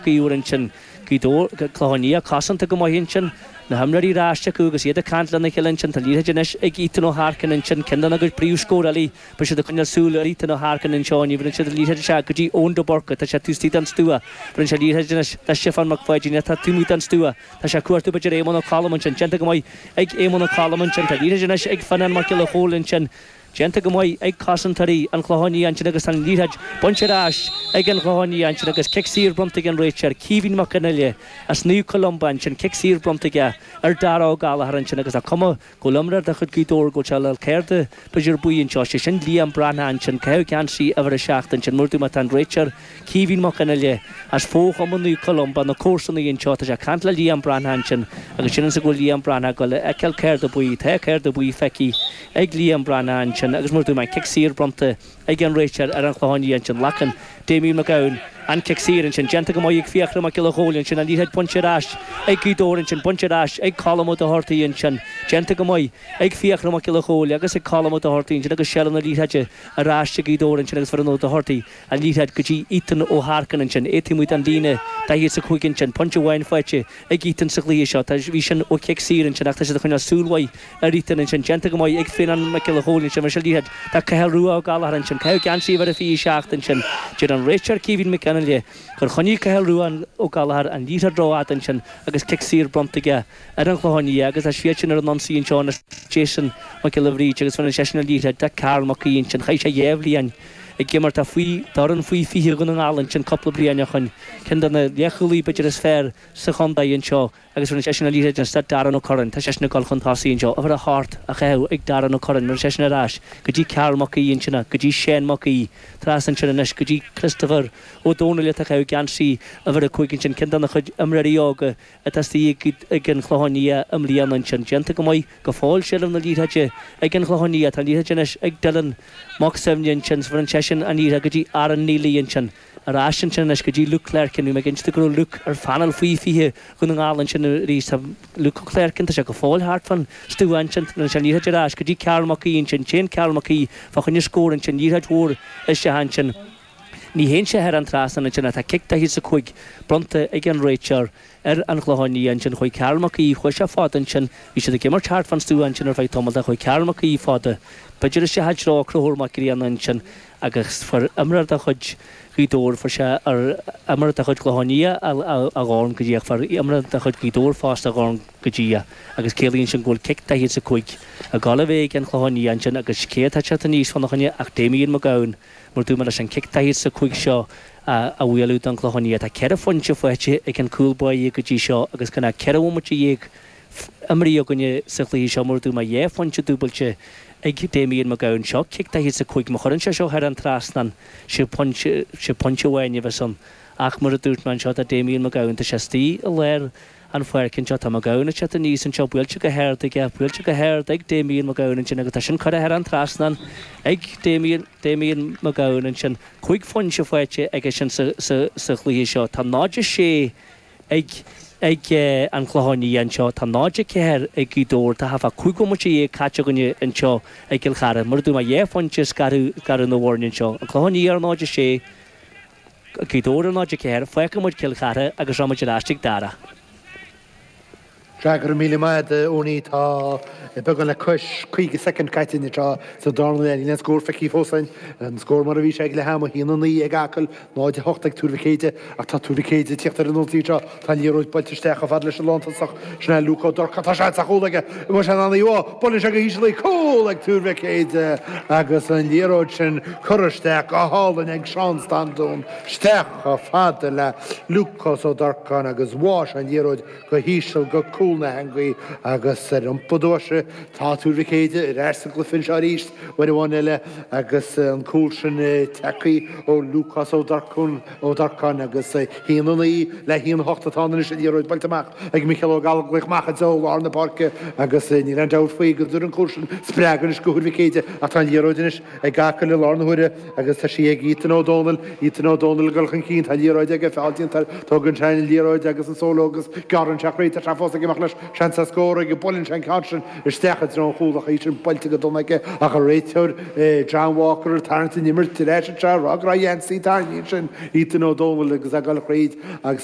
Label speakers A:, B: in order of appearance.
A: Mac Íomhair ansin. Gaoth Dobhair, Clochán Liath cosanta go maith ansin. Na himreoirí ar ais acu agus iad ag caint lena chéile ansin. Tá liathróid anois ag Ethan Ó hEarcáin ansin, ceann dena gcuid príomhscórálaí. Beidh siad ag coinneáil súil ar Ethan Ó hEarcáin anseo inniu. Bheireann siad an liathróid isteach go dtí Eoin de Búrca. Tá sé taobh istigh den stua. Bheireann sé an liathróid anois le Stiofán Mac Pháidín atá taobh amuigh den stua. Tá sé ag cuartú b'fhéidir Éamonn Ó Colm ansin. Déanta go maith ag Éamonn Ó Colm ansin. Tá liathróid anois ag Fionnán Mac Giolla Chóill ansin. Déanta go maith ag cosantóirí an Chlocháin Liath ansin agus tá an liathróid bainte ar ais ag an Chlochán Liath ansin agus cic saor bronnta ag an réiteoir, Caoimhín Mac Fhionnghaile as Naomh Columba ansin. Cic saor bronnta aige ar Dara Ó Gallchóir ansin agus tá cuma go bhfuil imreoir de chuid Ghaoth Dobhair go bhfuil sé le cárta b'fhéidir buí anseo, sé sin Liam Breathnach ansin, caitheamh geansaí uimhir 7 ansin, mar a dúirt mé tá an réiteoir Caoimhín Mac Fhionnghaile as fo-chumann Naomh Columba, na comharsanaí anseo, tá sé ag caint le Liam Breathnach ansin agus sílimse go bhfuil Liam Breathnach ag dul a fheiceáil cárta buí, tá cárta buí feicthe ag Liam Breathnach ansin agus mar a dúirt mé an cic saor bronnta ag an réiteoir ar an Chlochán Liath ansin. Glacann Damien McGowan an cic saor ansin. Déanta go maith ag Fiachra Mac Giolla Chóill ansin. An liathróid bainte ar ais ag Gaoth Dobhair ansin. Bainte ar ais ag Colm Ó Dochartaigh ansin. Déanta go maith ag Fiachra Mac Giolla Chóill agus ag Colm Ó Dochartaigh ansin agus seilbh na liathróide ar ais ag Gaoth Dobhair ansin agus bheireann Ó Dochartaigh an liathróid go dtí Ethan Ó hEarcáin ansin. É taobh amuigh den líne 45 ansin. Pointe amháin faighte ag Ethan sa chluiche seo. Tá, bhí sin ó chic saor ansin ach tá siad ag coinneáil súil mhaith ar Ethan ansin. Déanta go maith ag Fionnán Mac Giolla Chóill ansin. Bheireann sé an liathróid do Cathal Rua Ó Gallchóir ansin. Caitheamh geansaí uimhir a 27 ansin. Deir an réiteoir Caoimhín Mac Fhionnghaile gur choinnigh Cathal Rua Ó Gallchóir an liathróid rófhada ansin agus cic saor bronnta aige ar an Chlochán Liath agus tá siadsan ar an ionsaí anseo anois. Jason Mac Giolla Bhríde agus bheireann seisean an liathróid do Karl Mac Aoidh ansin. Chaith sé dhá bhliain ag imirt faoi d'fhoireann faoi 20 Dhún na nGall ansin cúpla bliain ó shoin. Ceann de na leathchúlaí b'fhéidir is fearr sa chontae anseo agus bheireann seisean an liathróid anois do Darren Ó Curráin. Tá seisean ag dul chun tosaigh anseo. Uimhir 8 á chaitheamh ag Darren Ó Curráin. Bheireann seisean ar ais go dtí Karl Mac Aoidh ansin, go dtí Shane Mac Aoidh. Trasna ansin anois go dtí Christopher Ó Dónaill atá ag caitheamh geansaí uimhir 5 ansin. Ceann de na chuid imreoirí óga atá istigh ag an Chlochán Liath i mbliana ansin. Déanta go maith go fóill seilbh na liathróide ag an Chlochán Liath. Tá an liathróid anois ag Dylan Mac Suibhne ansin. Bheireann seisean an liathróid go dtí Aaron Neely ansin. Ar ais ansin anois go dtí Luke Clerkin. Bhí mé ag inse duit go raibh Luke ar phainéal faoi 20 Dhún na nGall ansin arís. Tá Luke Clerkin, tá sé go fóill thart fán stua ansin. Bheireann sé an liathróid ar ais go dtí Karl Mac Aoidh ansin. Téann Karl Mac Aoidh fá choinne scór ansin. Liathróid mhór isteach ansin. Ní théann sé thar an trasnán ansin ach tá cic daichead is a cúig bronnta ag an réiteoir ar an Chlochán Liath ansin. Chuaigh Karl Mac Aoidh, chuaigh sé fada ansin. Bhí siad ag imirt thart fán stua ansin ar feadh tamaill. Chuaigh Karl Mac Aoidh fada, b'fhéidir isteach i dtreo Conchúr Mac Grianna ansin agus fuair imreoir de chuid Ghaoth Dobhair, fuair sé ar imreoir de chuid Chlochán Liath a dhorn go díreach, fuair imreoir de chuid Ghaoth Dobhair fosta a dhorn go díreach agus ciallaíonn sin go bhfuil cic daichead is a cúig ag dul a bheith ag an Chlochán Liath ansin agus cé atá ag teacht aníos fána choinne ach Damien McGowan. Mar dúirt mé leis an cic daichead is a cúig seo a bhualadh don Chlochán Liath. Tá ceithre phointe faighte ag an cúl báire go dtí seo agus gan ach 14 bhomaite imrithe againne sa chluiche seo. Mar dúirt mé, dhá phointe dúbailte ag Damien McGowan. Seo cic daichead is a cúig. Má chuireann sé seo thar an trasnán, sé pointe, sé pointe amháin a bheas ann. Ach mar a dúirt mé anseo, tá Damien McGowan, tá sé istigh i lár an pháirc anseo. Tá McGowan ag teacht aníos anseo, buailte go hard aige, buailte go hard ag Damien McGowan ansin agus tá sin curtha thar an trasnán ag Damien, Damien McGowan ansin. Cúig phointe faighte aige sin sa, sa, sa chluiche seo. Tá 0-6 ag, ag an Chlochán Liath anseo. Tá 0-4 ag Gaoth Dobhair. Tá thart fá 15 bhomaite caite againne anseo i gCill Chartha. Mar a dúirt mé, dhá phointe scaradh, scaradh na bhfoirne anseo. An Clochán Liath ar 0-6. Gaoth Dobhair ar 0-4, fágfaidh muid Cill Chartha agus rachaidh muid ar ais chuig Dara.
B: Sea, go raibh míle maith agat, a Owenie. Tá beagán le cois 50 soicind caite anseo sa darna leath. Níl aon scór feicthe fós againn. An scór mar a bhí sé ag leath ama, 1-9 ag Acaill, 0-8 ag Tuar Mhic Éide. Ach tá Tuar Mhic Éide ag tíocht ar an ionsaí anseo. Tá an liathróid buailte isteach chomh fada leis an lántosach. Sin é Luke Ó Durcáin. Tá seans ar chúl aige. An bhfuil sé in ann í a Buaileann sé go híseal í. Cúl ag Tuar Mhic Éide agus an liathróid sin curtha isteach go hálainn ag Seán Standún isteach chomh fada le Lúcás Ó Durcáin agus bháigh sé an liathróid go híseal go cúl na heangaí agus ar iompar tomhaiste tá Tuar Mhic Éide ar ais sa gcluiche anseo arís uair amháin eile agus an cúl sin tagtha ó Lúcás Ó Durcáin Ó Durcáin agus 1-9 le 1-8 atá ann anois an liathróid buailte amach ag Micheál Ó Gallchóir amach i dtreo lár na páirce agus níl aon dabht faoi go dtabharfaidh an cúl sin spreagadh anois do Thuar Mhic Éide ach tá an liathróid anois ag Acaill i lár na huaire agus tá sí ag Ethan Ó Dónaill, Ethan Ó Dónaill ag dul chun cinn, tá an liathróid aige, feall déanta air, tógann sé an liathróid agus an solo agus gearrann sé thríd, tá sé fós ag imeacht leis, seans ar scór aige, buaileann sé an ceann sin isteach i dtreo an chúil ach í sin buailte go dona aige ach an réiteoir John Walker ag tarraingt an imirt ar ais anseo ag rá go raibh a gheansaí tarraingthe ansin Ethan Ó Dónaill agus é ag dul thríd agus.